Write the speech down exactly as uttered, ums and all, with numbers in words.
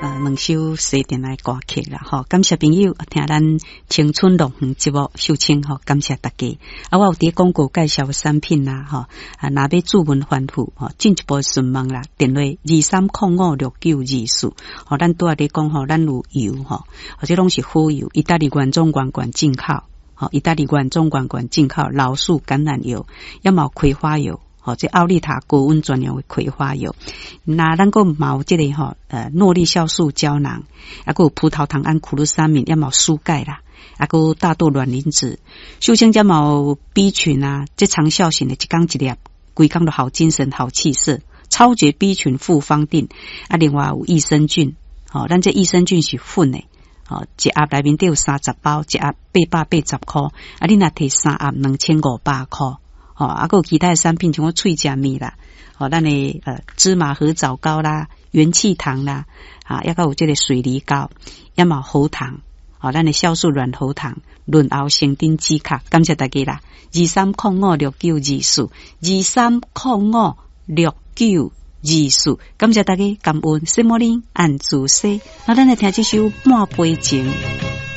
呃兩首西電的歌曲啦，吼，感謝朋友聽咱青春樂園節目秀清吼，感謝大家。啊，我有佇廣告介紹產品啦，吼，啊，若欲主文翻覆吼，進一步詢問啦，電話二三空五六九二四，吼，咱拄仔咧講吼，咱有油吼，或者攏是好油，意大利原裝原罐進口，吼，意大利原裝原罐進口老樹橄欖油，抑嘛有葵花油。吼，這奧利塔高溫專用的葵花油，那咱閣嘛有這个吼，呃，諾麗酵素膠囊，啊，閣有葡萄糖胺、苦魯三敏，抑嘛有舒鈣啦，啊，閣有大豆卵磷脂，秀清這嘛有 B 群啊，這長效型的，一工一粒，規工都好精神、好氣色，超絕 B 群複方錠，啊，另外有益生菌，吼，咱這益生菌是粉的。吼，一盒內面底有三十包，一盒八百八十箍，啊，你若提三盒兩千五百箍。吼，啊，閣有其他的產品，像我喙食物啦，吼，咱的呃芝麻核棗糕啦、元氣糖啦，啊，抑閣有這个水梨糕，抑嘛喉糖，吼，咱的酵素軟喉糖、潤喉成頂止咳，感謝大家啦！二三空五六九二四，二三空五六九二四，感謝大家感恩，什麼呢？按主西，那咱來聽這首《半杯情》。